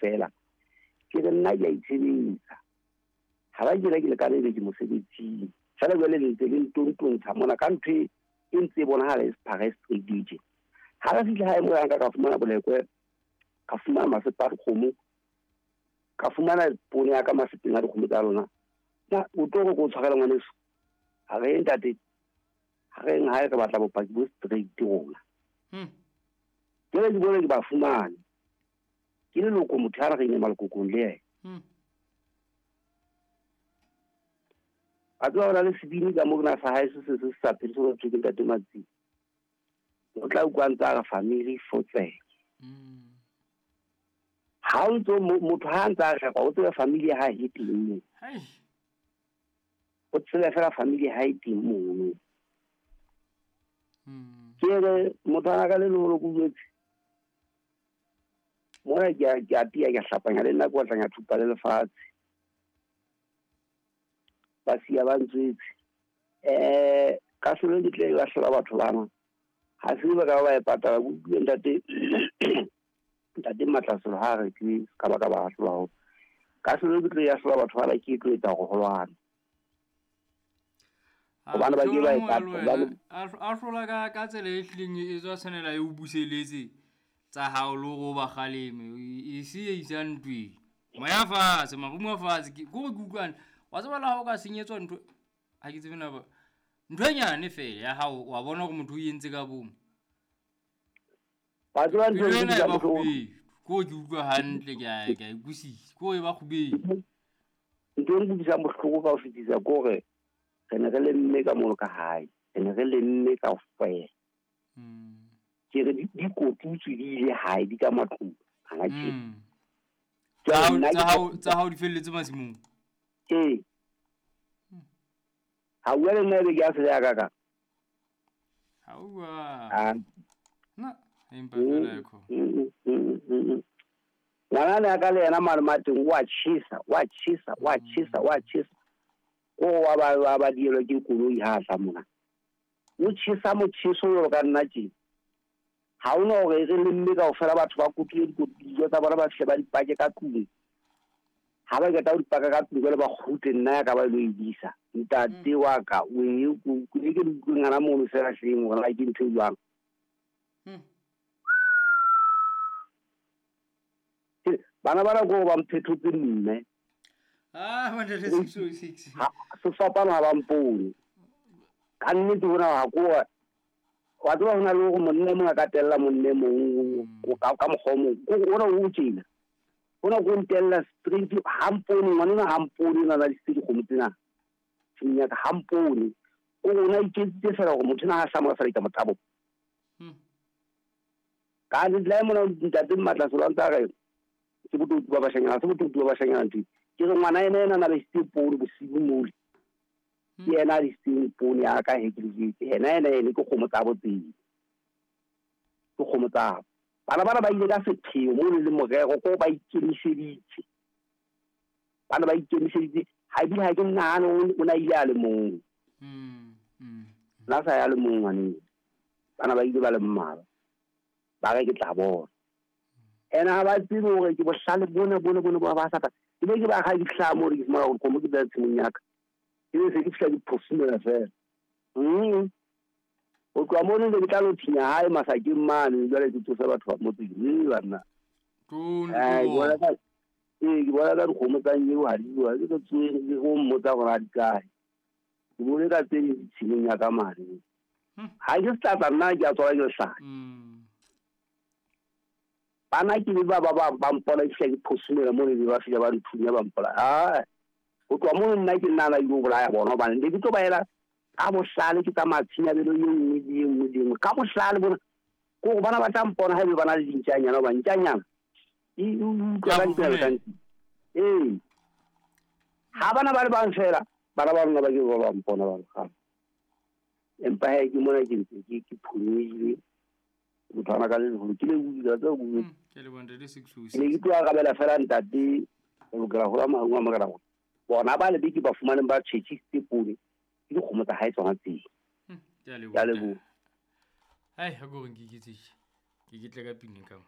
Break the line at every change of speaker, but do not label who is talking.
kaofela. Ke re nna ke a itshebetsa. Ha ba kena ke le ka lebe ke mosebetsing. Jwale jwale le ntse le ntontontsha mona ka ntho e ntse e bonahala e sephara e straight tje. Ha re fihla hae mo ka fumana bolekwe, ka fumana masepa a dikgomo, ka fumana poone ya ka masepeng a dikgomo tsa lona. Na o tlo re ko tshwarela ngwaneso? Ha re ntate, ha re hae re batla bopaki bo straight rona. Jwale ke bone ke ba fumane. Ke leloko motho ya re reng malokokong le yena. A tseba hona le sebini ka mo na sa hae se se sa phele se ke ntate Matsi. O tla utlwa ntse a re family fotseng. Ha o ntso motho ha ntse a re o tsebe family ha e teng moo. O tsebe fela family ha e teng mono. Ke re motho ana ka le leholo ke utlwetse. Mona ke a tia ke hlapanya le nna ke otlanya thupa le lefatshe. Ba siya ba ntswetse. Ka selo ke tle ba hlola batho bana. Ha se ba ka ba e patala go utlwe ntate ntate Matlaselo ha re ke ka ba ka ba hlola ho. Ka selo ke tle ya hlola batho bana ke tlo etsa go holwana. Hobane ba ke ba e patala.
A hlola ka tsela e hlileng e tswa tshwanela e o buseletse tsa hao le go ba kgaleme e se e isa ntweng. Moya fatshe, marumo fatshe ke go ke utlwana. Wa tseba la hao ka senyetswa ntho ha ke tsebe na ba ntho e nyane fela ya hao wa bona hore motho o entse ka bomo.
Ba tseba ntho
e ba kgubedu. Ko ke utlwa hantle ke a ke a ikusisa. Ko e ba kgubedu.
Ntho e nkutlwisang bohloko ka ho fetisa ke hore re ne re lemme ka mono ka hae. Re ne re lemme kaofela. Ke re di kotutswe di ile hae di ka matlung. Ha tje.
Tsa hao di felletse masimong.
Ee. Ha bua le nna ebe ke a se ya ka ka.
Ha bua. Na, empa fela e kho.
Ngwana ne a ka le yena malome a teng wa tjhesa, wa tjhesa, wa tjhesa, wa tjhesa. O wa ba ba dielwa ke koloi ha tla mona. O tjhesa motjheso jwalo ka nna tje. Ha hona hore re lemme kaofela batho ba kotule dijo tsa bona ba fihle ba di pake ka tlung. Ha ba qeta ho di paka ka tlung jwale ba kgutle nna ya ka ba lo e disa. Ntate wa ka o e ke ke utlwe ngwana mono fela hleng hore na ke ntho e jwang. Bana bana ko ba mphetotse mme.
Ah, 106.
Sefapano ha ba mpone. Ka nnete hona ha ko wa tseba hona le hore monna mong a ka tella monna mong ka mokgwa o mong. Ona o tjena. Hona go ntella straight ha mpone ngwana ha mpone na la dikgomo tsena. Tshimong ya ka ha mpone. O rona iketsitse fela hore motho na ha hlama fela ka motabo. Ka le mona ntate Matlaselo a ntse a re ke botoutu ba bashanyana, se botoutu ba bashanyana ntho. Ke re ngwana ena ena na le sitse poone bosibu mole. Ke yena a disitseng poone ya ka he ke le jetse. Yena ena ene ke kgomo tsa botseng. Ke kgomo tsa. Bana bana ba ile ka sepheo mo le morero ko ba ikemiseditse. Bana ba ikemiseditse ha ebile ha ke nahane o na ile a le mong. La sa ya le mong ngwaneng. Bana ba ile ba le mmalwa. Ba re ke tla bona. Ena ha ba tsebe hore ke bohlale bona bona bona ba sa ta. Ke be ke ba ga di hlaha mo re ke fumana hore kgomo ke tla tshimong ya ka. Ke be se ke fihla ke phofumela fela. O tloha mono le ke tla lo thinya hae masakeng mane jwale ke tsose batho ba motseng. Banna. Ke bona ka dikgomo tsa nyeo ha di bua. Ke tsoe ke go mmotsa hore ha di kae. Ke bone ka tse ding tshimong ya ka mane. Ha ke setlatla nna ke a tswala ke lehlanya. Bana ke le ba ba mpola ke fihla ke phosumela mo le ba fihla ba nthunya ba mpola. Ah, ho tloha mono nna ke nna la ile ho bolaya bona hobane ne ke tlo ba ela ka bohlale ke tsamaya tshinyabelo e nngwe le e nngwe le e nngwe. Ka bohlale bona ke hore bana ba tla mpona haebe ba na le dintjanyana hoba ntjanyana e utlwa ka ditsela tsa ntsi. Ee. Ha bana ba le bang fela, bana ba rona ba ke ba mpona ba re. Empa he ke mona ke ntse ke phonyohile. Motho ana ka le leholo ke le utlwa tsa go.
Ke le bonde le 606.
Ne ke tlo arabela fela ntate o lokela ho la mahung a makala. Bona ba le beke ba fumaneng ba tjhetjhisitse poone ke dikgomo tsa hae tsona tseo.
Ke a leboha. Hai, ha go re nke ke tse. Ke tle ka pina ka mo.